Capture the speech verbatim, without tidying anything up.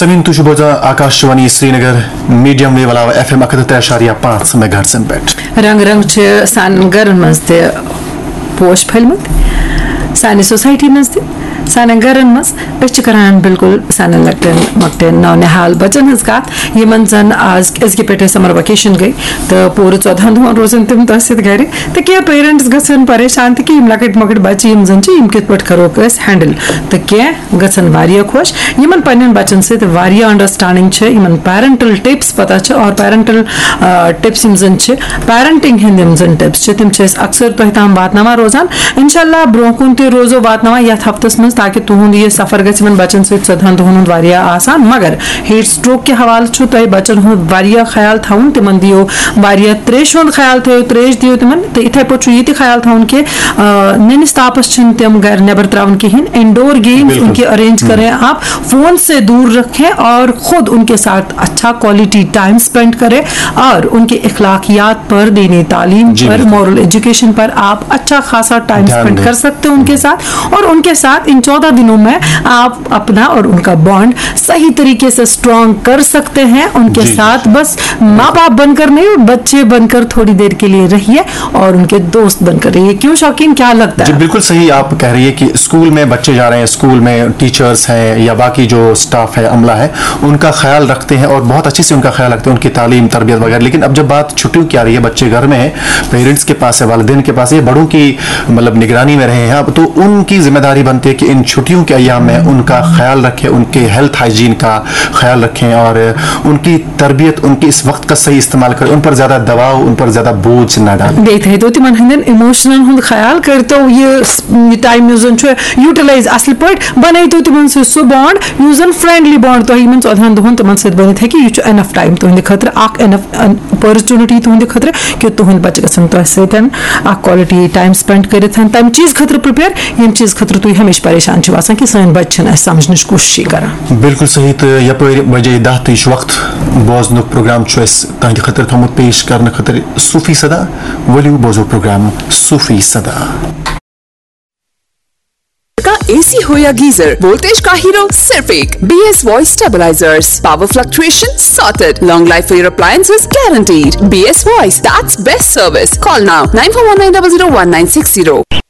سمین، تُہۍ چھِو بوزان آکاش وانی سرینگر، میڈیم ویو علاوٕ ایف ایم اکھ ہتھ تہٕ ترٛےٚ اَشاریہ پانٛژھ میگا ہرٹزن پٮ۪ٹھ۔ رنگ رنگ چھِ سانٮ۪ن گرن منٛز تہِ پوش پھٔلمٕتۍ، سانہِ سوسایٹی منٛز تہِ، سانٮ۪ن گرن منٛز۔ أسۍ چھِ کران بالکل سانٮ۪ن لۄکٹٮ۪ن مۄکٹٮ۪ن نونہال بچن ہٕنٛز کتھ، یِمن زن آز أزکہِ پٮ۪ٹھے سمر ویکیشن گٔے تہٕ پوٗرٕ ژۄدہن دۄہن روزن تِم تۄہہِ سۭتۍ گرِ۔ تہٕ کینٛہہ پیرنٹس گژھن پریشان تہِ کہِ یِم لۄکٕٹۍ مۄکٕٹۍ بچہِ یِم زن چھِ، یِم کِتھ پٲٹھۍ کرہوکھ أسۍ ہینڈل۔ تہٕ کینٛہہ گژھن واریاہ خۄش۔ یِمن پننٮ۪ن بچن سۭتۍ واریاہ انڈرسٹینڈنگ چھِ، یِمن پیرنٹل ٹپس پتہ چھِ، اور پیرنٹل ٹپس یِم زن چھِ، پیرنٹنگ ہٕنٛدۍ یِم زن ٹپس چھِ، تِم چھِ أسۍ اکثر تۄہہِ تام واتناوان روزان۔ انشاءاللہ برونٛہہ کُن تہِ روزو واتناوان یتھ ہفتس منٛز، تاکہِ تُہُنٛد یہِ سفر گژھِ یِمن بچن سۭتۍ ژۄدہن دۄہن ہُنٛد واریاہ آسان۔ مگر ہیٹ سٹروک کہِ حوالہٕ چھُ تۄہہِ بچن ہُنٛد واریاہ خیال تھاوُن، تِمن دِیِو واریاہ تریشہِ ہُنٛد خیال تھٲیِو، تریش دِیِو تِمن۔ تہٕ یِتھے پٲٹھۍ چھُ یہِ تہِ خیال تھاوُن کہِ آ، نٔنِس تاپس چھِنہٕ تِم گرِ نٮ۪بر تراوٕنۍ کِہیٖنۍ۔ انڈور گیمز، بِلکُل۔ ان کے ارینج ہم۔ کریں آپ، فون سے دور رکھیں اور خود ان کے ساتھ اچھا کوالٹی ٹائم اسپینڈ کریں اور ان کے اخلاقیات پر، دینی تعلیم جی، پر، بِلکُل۔ مورل ایجوکیشن پر آپ اچھا خاصا ٹائم دھیان اسپینڈ دیں۔ کر سکتے ہیں ان کے ساتھ، اور ان کے ساتھ ان چودہ دنوں میں آپ اپنا اور ان کا بانڈ صحیح طریقے سے اسٹرانگ کر سکتے ہیں۔ ان کے جی، جی۔ ساتھ بس ماں باپ بن کر نہیں، بچے بن کر تھوڑی دیر کے لیے رہیے اور ان کے دوست بن کر رہیے۔ کیوں شوقین، کیا لگتا جی، ہے؟ بالکل صحیح آپ کہہ رہی ہے کہ اسکول میں بچے جا رہے ہیں، اسکول میں ٹیچرز ہیں یا باقی جو اسٹاف ہے، عملہ ہے، ان کا خیال رکھتے ہیں اور بہت اچھے سے ان کا خیال رکھتے ہیں، ان کی تعلیم، تربیت وغیرہ۔ لیکن اب جب بات چھٹیوں کی آ رہی ہے، بچے گھر میں ہیں، پیرنٹس کے پاس ہے، والدین کے پاس ہے، بڑوں کی مطلب نگرانی میں رہے ہیں، اب تو ان کی ذمہ داری بنتی ہے کہ ان چھٹیوں کے ایام میں ان کا خیال رکھیں، ان کے ہیلتھ ہائیجین کا خیال رکھیں اور ان کی تربیت، ان کی اس وقت کا صحیح استعمال کریں، ان پر زیادہ دباؤ، ان پر زیادہ بوجھ نہ ڈالیں۔ بیٚیہِ تھٲیتو تِمن ہٕنٛدٮ۪ن اِموشنن ہُنٛد خیال، کٔرتو یہِ س-، یہِ ٹایم یُس زن چھُ یوٹیلایز اصل پٲٹھۍ، بنٲیتو تِمن سۭتۍ سُہ بانڈ یُس زن فرینڈلی بانڈ تۄہہِ یِمن ژۄدہن دۄہن تِمن سۭتۍ بٔنِتھ ہیٚکہِ۔ یہِ چھُ انف ٹایم تُہنٛدِ خٲطرٕ، اکھ انف اپرچونٹی تُہنٛدِ خٲطرٕ کہِ تُہنٛدۍ بچہِ گژھن تۄہہِ سۭتۍ اکھ کوالٹی ٹایم سپینڈ کٔرِتھ تمہِ چیٖز خٲطرٕ پریپیر، ییٚمہِ چیٖز خٲطرٕ تُہۍ ہمیشہِ پریشان چھِو آسان کہِ سٲنۍ بچہِ چھِنہٕ اسہِ سمجھنٕچ کوٗششٕے کران۔ بالکل صحیح، تہٕ یپٲرۍ بجے دَہ تہٕ یہِ چھُ وقت بوزنُک پروگرام چھُ اَسہِ تُہنٛدِ خٲطرٕ تھوٚمُت پیش کرنہٕ خٲطرٕ صوفی صدا۔ ؤلِو بوزو پروگرام صوفی صدا۔ کا اے سی ہو یا گیزر، وولٹیج کا ہیرو صرف ایک۔ B S voice stabilisers, power fluctuation sorted, long life for your appliances guaranteed. B S voice, that's best service. Call now, nine four one nine double zero one nine six zero.